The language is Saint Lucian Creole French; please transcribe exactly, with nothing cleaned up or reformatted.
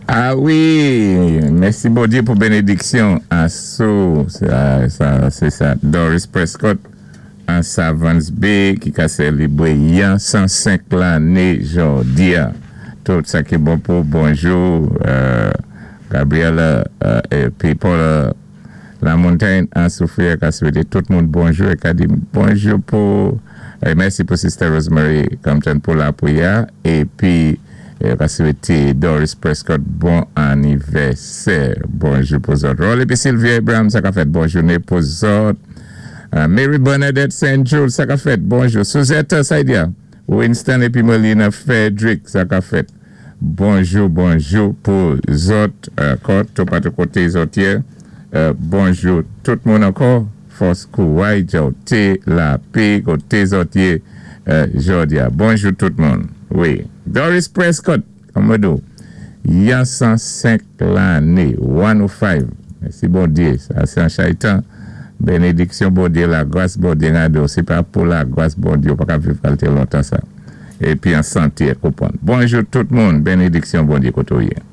Ah wi, mèsi Bondyé pou bénédiksyon. Asou, sa, sa, sé sa. Doris Prescott, an Savans Bay, ki ka sélébwé yan san senk lanné jòdi-a. Tout sa ki bon pou bonjou, euh, Gabriela euh, épi Paul La Montagne an Soufrière ka swété tout moun bonjou é ka di bonjou pou eh, mèsi pou Sister Rosemary Compton pou lapwiyè épi eh, ka swété Doris Prescott bon anivèsè. Bonjou pou zòt. Rolly épi Sylvia Abraham, sa ka fèt, bon jouné pou zòt. Uh, Mary Bernadette Saint Jules, sa ka fèt, bonjou. Suzette Saidia, Winston épi Melina Frederick, sa ka fèt. Bonjou, bonjou pou zòt, ankò, tout patou koté zòt yé. Euh, bonjou tout moun ankò. Fòs kouway, té lapè, koté zòt yé, euh, jòdi-a. Bonjou tout moun. Wi. Doris Prescott, kòm di, yan san senk lanné, san senk. Mèsi Bondyé, sa sé an chaytan. Bénédiksyon Bondyé, lagras Bondyé, gado. Sé pa pou lagras Bondyé, ou pa ka viv kalité lontan sa. Épi an santé, konpwann. Bonjou tout moun, bénédiksyon Bondyé koto yé.